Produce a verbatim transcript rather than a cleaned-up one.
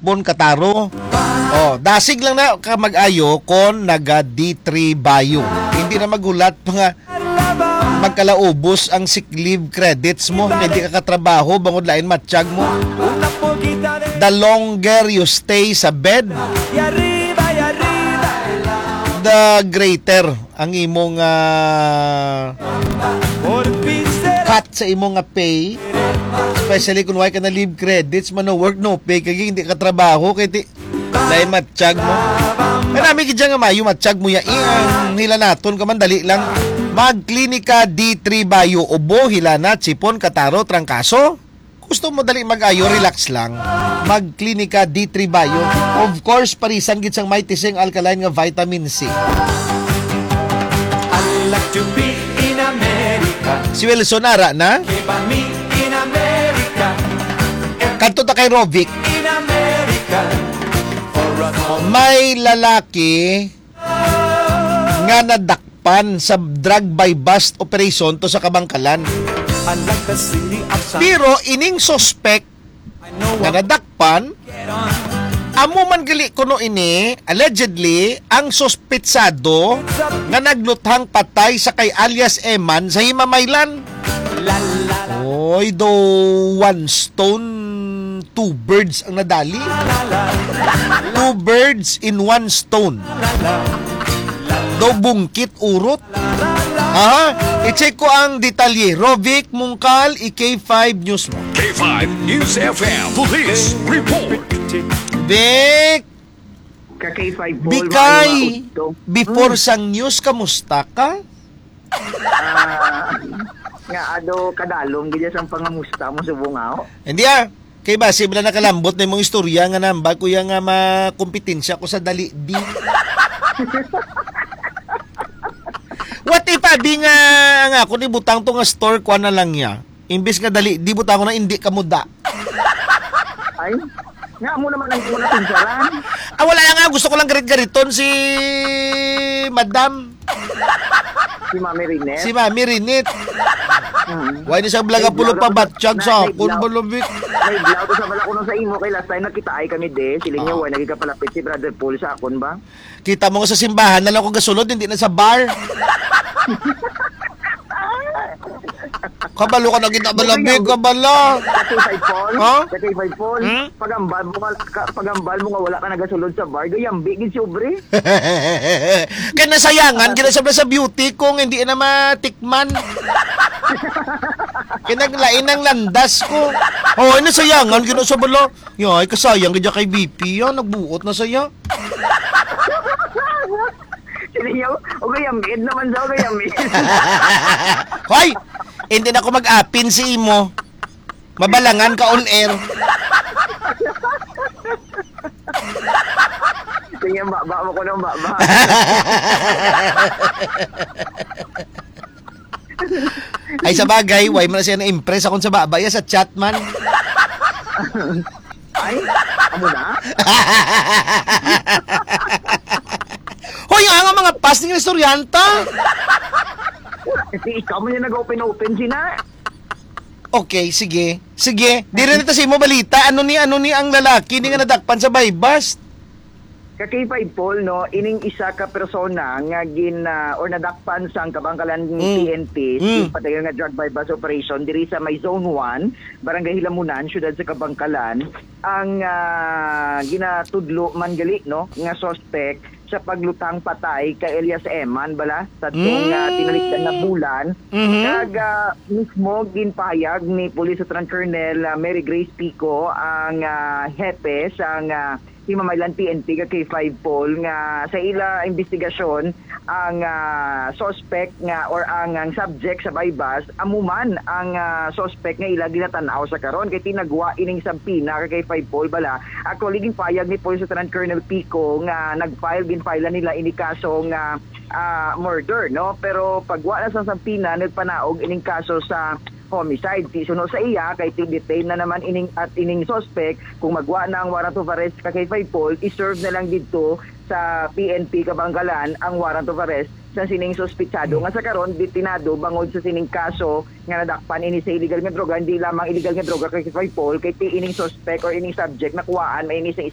Bon Kataro. Oh, dasig lang na ka mag-ayo kon naga D three Bayo. Hindi na maghulat pa nga magkalaubos ang sick leave credits mo kay di ka katrabaho bangod lain matsyag mo. The longer you stay sa bed, the greater ang imong ah, cut sa imong nga pay. Especially kung wala ka na leave credits, man, no work, no pay, kay hindi ka trabaho, kay ti, dahil matsyag mo. Ay, nami gid nga mayo, matsyag mo ya. Eh, ang hilanaton ka man, dali lang. Magklinika D three Bayo, ubo, hilana, sipon, kataro, trangkaso. Gusto mo dali mag-ayo, relax lang. Magklinika D three Bayo. Of course, parisan gid sang may tising alkaline nga vitamin C. I like to be in America. Si Wilson, ara na? Keep on me in America. Kadto ta kay Rovic. In America. For a small May lalaki nga nadakpan sa drug buy-bust operation to sa Kabangkalan. I like the city of sun. Pero ining suspect I know nga what nadakpan, amo man gali kuno ini, allegedly, ang suspitsado nga nagluthang patay sa kay alias Eman sa Himamaylan. La, la, la. Oy, do one stone, two birds ang nadali. Two birds in one stone. Do bungkit urot. Ha? I-check ko ang detalye. Rovic Mungkal, i K five News mo. K five News F M Police Report. Vic, Ka K five Paul, Bikay, maayo nga udto. Before Hmm. sang news, kamusta ka? Ah, nga ado kadalom gid sang pangamusta mo subong ako. Hindi ah. Kay basi bala nakalambot na imong istorya nga nambag ko ya nga makompetensya ko sa dali di. What if abi nga, nga ako ni butang to nga store, kuha na lang niya. Imbis nga dali, di butang ko na hindi ka muda. Ay, nga mo naman ang imo natunsaran. Ah, wala lang nga. Gusto ko lang garit-gariton si Madam. Si Mami Rinet. Si Mami Rinit. Mm. Why ni sa blaga May pulo blaga pa ko sa, batsyag na, sa may akon, blaga, balabik? May blaga ko sa bala ko nung sa imo, kay last time nakitaay kami, de. Sila niya, Ah. why nagkikapalapit si Brother Paul sa akon ba? Kita mo nga sa simbahan na lang ako gasulod, hindi na sa bar. Kabalo ka na kita, balabig, kabalo. Sa K five Paul? Ha? Sa K five Paul? Hmm? Pagambal mo nga, ka, pagambal mo nga wala ka nagasulod sa bar, gayambi gid si Obre. Kaya nasayangan, gina sa, sa beauty ko, nga hindi na matikman. Kaya naglain ang landas ko. Oh, nasayangan, gina sa bala. Yay, kasayang gid kay B P yan. Nagbuot na saya. Sila niya, o kaya mid naman daw, kaya mid. Hoy! Hindi na ako mag-apin si imo. Mabalangan ka on air. Sige, baba mo ko ng baba. Ay, sa bagay, why man siya na-impress akong sa baba? Ya, sa chat man. Ay, amo na? Hoy, ang mga past ning estudyanta. Kasi ikaw man yung nag-open-open sina. Okay, sige. Sige, diri na ta sa imo balita. Ano ni, ano ni ang lalaki ni nga nadakpan sa buy-bust? Ka K five Paul, no, ining isa ka persona nga gin, ah, or nadakpan sang Kabangkalan Mm. P N P, Mm. sa padayon nga drug buy-bust operation diri sa may Zone one, Barangay Hilamunan, siyudad sa Kabangkalan, ang, ah, ginatudlo man gali, no, nga suspect sa paglutang patay kay Elias Eman bala sa tong, ah, Mm. tinalikdan na bulan. Mhm. Kag, ah, mismo ginpahayag ni Police Lieutenant Colonel, ah, Mary Grace Pico ang, ah, hepe sang, ah, Himamaylan P N P ka K five Paul nga sa ila investigasyon ang, ah, suspect nga or ang, ang subject sa buy-bust amo man ang, ah, suspect nga ila ginatan-aw sa karon kay tinagwa ining subpoena ka K five Paul bala. Actually, ginpayag ni Police Lieutenant Colonel Pico nga nag-file, ginfile nila ini kaso nga, ah, murder, no? Pero pagwa na sa subpoena, nagpanaog ining kaso sa homicide. Ti suno sa iya, kay ti-detain na naman ining, at ining suspect, kung magwa na ang warrant of arrest ka K five Paul, i-serve na lang didto sa P N P Kabangkalan ang warrant of arrest sa sining suspitsado nga sa karon detenado bangod sa sining kaso nga nadakpan ini sa illegal nga droga. Hindi lamang illegal nga droga ka K five Paul, kay ti ining suspect or ining subject nakuhaan man ini sa